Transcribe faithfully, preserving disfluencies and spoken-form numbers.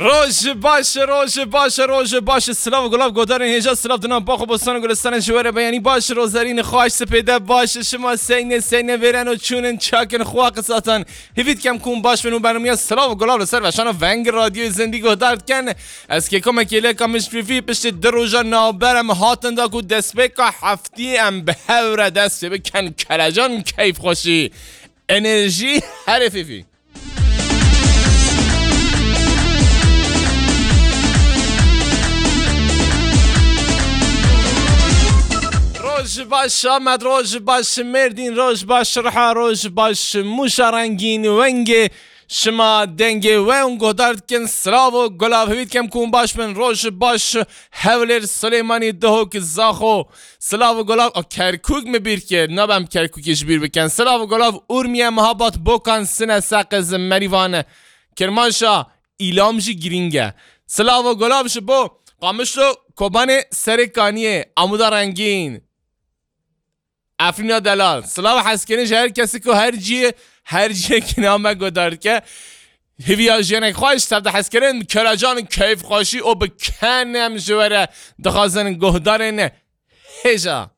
Roj baş, roj baş, roj baş. Silav û gulav godarên hêja, silav dinan baxo bostan û gulistanên ji we re beyanî baş. Rozerîn xweş sipêde baş. Şima seyne seyne vêren û çûnin çakin xwe qisatan. Hêvî dikem ku hûn baş bin û bermiya silav û gulav li ser veşana Veng Radyoyê Zindî guhdar dikin. Ez kêkom e kêleka min ji vî piştî di roja navber em hatin da ku destpêka heftî em bi hev re dest pê bikin. Kelecan keyfxweşî. Enerjî herê fîfî. Roj baş Amed, roj baş Mêrdîn, roj baş Riha, roj baş Mûşa Rengîn, wengê şima dengê we hûn guhdar dikin. Silav û gulav hêvî dikem ku hûn baş bin. Roj baş Hewlêr, Silêmanî, Duhok, Zaxo. Silav û gulav, a, Kerkûk min bîr kir. Nabem Kerkûkê ji bîr bikin. Silav û gulav Urmiye, Mehabat, Bokan, Sine, Seqiz, Merîvan, Kirmanşa, Îlam jî girîng e. Silav û gulav ji bo Qamişlo, Kobanê, Serê Kaniyê, Amuda Rengîn, Efrîna Delal. Silav hezkirin ji her kesî ku her ciyê, her ciyekî name guhdar dike. Hêviya jiyanek xweş, tev de hezkirin, kelecan keyfxweşî û bi kenem ji we re dixwazin guhdarên hêja.